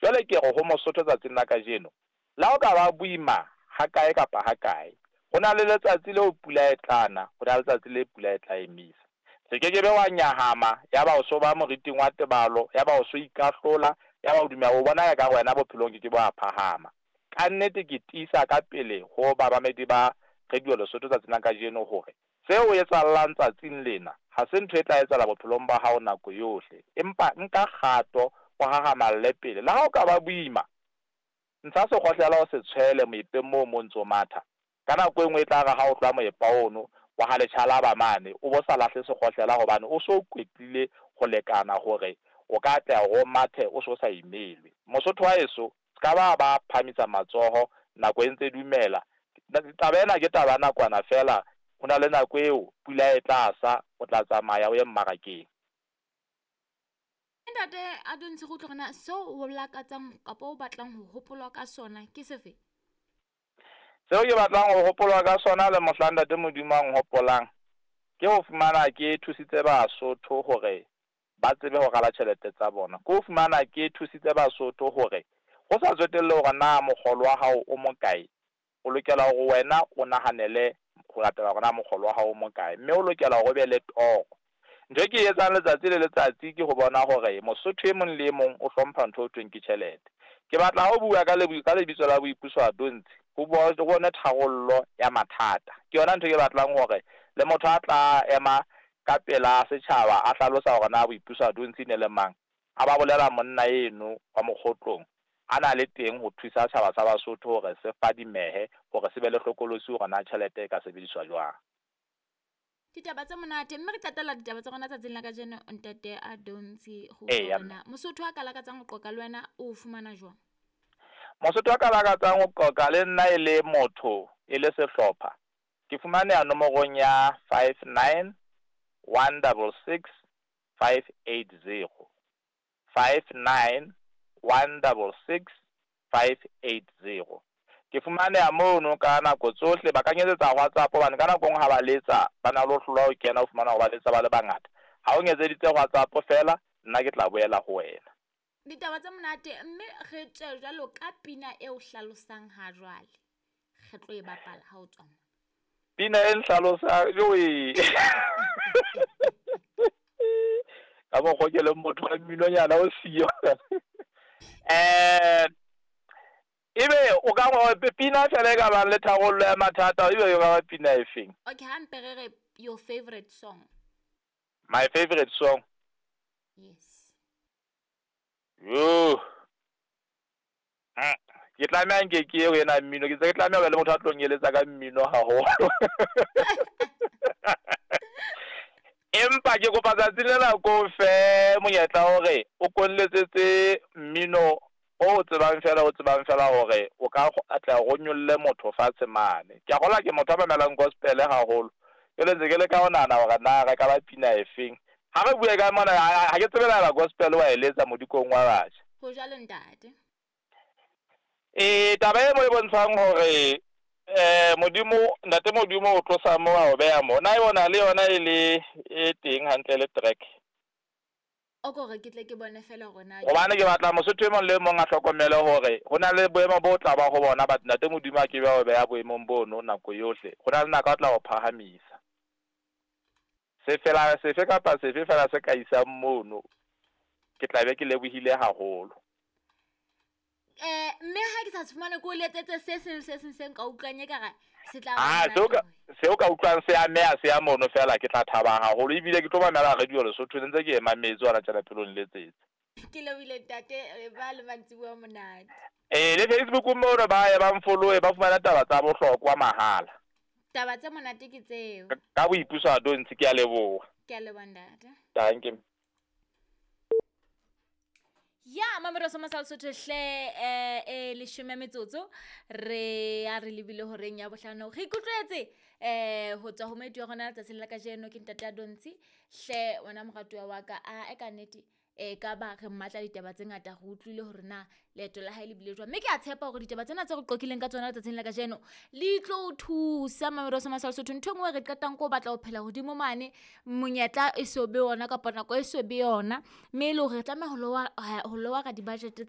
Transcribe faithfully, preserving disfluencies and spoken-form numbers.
Jwale ke re ho Mosotho tsatsing la kajeno, le ha o ka ba boima hakae kapa hakae, ho na le letsatsi leo pula e tla na, ho na le letsatsi le pula e tla emisa. Se ke ke be wa nyahama, ya ba o so ba moriting wa tebalo, ya ba o so ikahlola, ya ba o dumela o bona e ka wena bophelong ke ke bo a phahama. Ka nnete ke tiisa ka pele ho bamamedi ba Radio Lesotho tsatsing la kajeno hore seo o etsahallang tsatsing lena ha se ntho e tla etsahala bophelong ba hao nako yohle, empa nka kgato o hahamalle pele. Le ha o ka ba boima, ntsha sekgohlela o se tshwele moepeng moo mo ntso matha. Ka nako e nngwe e tla re ha o tloha moepa ono wa ha letjhalaba mane, o bo sa lahle sekgohlela hobane o so kwetlile ho lekana hore o ka atleha hore o mathe o so sa imelwe. Mosotho wa heso, se ka ba ba phahamisa matsoho nako e ntse dumela. Taba ena ke taba ya nakwana feela, ho na le nako eo pula e tla sa, o tla tsamaya o ye mmarakeng. Ntate Adontshi, re utlwe hore na seo o lakatsang kapa o batlang ho hopolwa ka sona ke sefe? Seo ke batlang ho hopolwa ka sona le mohlang Ntate Modimo a nhopolang, ke ho fumana ke thusitse Basotho hore ba tsebe ho rala tjhelete tsa bona. Ke ho fumana ke thusitse Basotho hore ho sa tsotelle hore na mokgolo wa hao o mokae, o lokela hore wena o nahanele ho latela hore na mokgolo wa hao o mokae, mme o lokela hore o be le toro. Ntho e ke e etsang letsatsi le letsatsi ke ho bona hore Mosotho e mong le e mong o hlompha ntho eo thweng ke tjhelete. Ke batla ho bua ka ka lebitso la Boipuso Adontshi, ho bone tharollo ya mathata. Ke yona ntho e ke batlang hore le motho a tla ema ka pela setjhaba a hlalosa hore na Boipuso Adontshi ne le mang, a ba bolela monna eno wa mokgotlong a na le teng ho thusa setjhaba sa Basotho hore se fadimehe, hore se be le hlokolosi hore na tjhelete e ka sebediswa jwang. Ditaba tse monate, mme re qetella ditaba tsa rona tsatsing la kajeno Ntate Adontshi, ho Eya, utlwa hore na Mosotho a ka lakatsang ho qoqa le wena o fumana jwang? Mosotho a ka lakatsang ho qoqa le nna e le motho, e le sehlopha, ke fumaneha nomorong ya five nine one double six five eight zero. five nine one double six five eight zero. Ke fumaneha mono ka nako tsohle, ba ka nketsetsa WhatsApp hobane ka nako e nngwe ha ba letsa ba na le ho hlolwa ho kena, o fumana hore ba letsa ba le bangata. Ha o nketseditse WhatsApp feela, nna ke tla boela ho wena. Ditaba tse monate, mme re tswe jwalo ka pina e o hlalosang ha jwale. Re tlo e bapala ha o tswa mona. Pina e nhlalosang, jowe. Ka mokgwa ke leng motho wa mminonyana o siyo. Eh, ebe o ka ngo pina fela e ka bang le tharollo ya mathata, ebe e ka ba pina e feng? Okay, ha mpe re re your favorite song. My favorite song? Yes. Yo. Ke tlameha nke ke eo ena mmino, ke tse ke tlameha ho ba le motho a tlo nkeletsa ka mmino haholo. Empa ke kopa tsatsing lena ko fe monyetla hore o konletsetse mmino o tsebang fela, o tsebang fela hore o ka atleha hore o nyolle motho fatshe mane. Ke a kgolwa ke motho a mamelang gospel haholo. Jwale ntse ke leka ho nahana hore na re ka ba pina e feng. Ha re bue ka mona, ha ke tsebe la gospel wa e letsa modikong wa batjha. Ho jwalo ntate. Eh, taba e mo e bontshang hore eh Modimo, Ntate Modimo o tlosa mo a o beha mo. Na yona le yona e le e teng hantle le track. O ko re ke tle ke bone fela hore na Hobane ke batla Mosotho e mong le mong a hlokomele hore ho na le boemo bo tla ba ho bona, but Ntate Modimo a ke be a o beha boemong bono nako yohle. Ho na le nako a tla o phahamisa. Sefela sefe kapa sefe fela se ka isang mono, ke tla be ke lebohile haholo. Eh, mme ha ke sa se fumane ke o letsetse se seng le se seng se nka utlwang ekare se tla Ah, ba seo ka monate. seo ka utlwang se ameha se ya mono fela, ke tla thaba haholo ebile ke tlo mamela Radio Lesotho ntse ke e mametse hona tjena pelong letsetse. Ke lebohile ntate, ba le mantsiboya monate. Eh, le Facebook mono ba ye ba mfollowe, ba fumana taba tsa bohlokwa mahala. Taba tse monate ke tseo. Ka Boipuso Adontshi, ke a leboha. Ke a leboha ntate. Danke. Ya mamelo sa Masal Sotho hle, eh, eh, leshome metsotso re a re lebile horeng ya bohlano. Re ikutlwetse, eh, ho tswa ho moeti wa rona letsatsing la kajeno ke Ntate Adontshi. Hle wena moratuwa wa ka, a e ka nnete, e ka ba re mmatla ditaba tse ngata, re utlwile hore na leeto la hae le bile jwang. Mme ke a tshepa hore ditaba tsena tse re qoqileng ka tsona letsatsing la kajeno li tlo o thusa mamelo sa Masal Sotho. Ntho e nngwe re qetang ko batla ho phela hodimo mane, monyetla e so be yona kapa nako e so be yona, mme e le hore re tlameha ho lowa, ho lowara di-budget tsa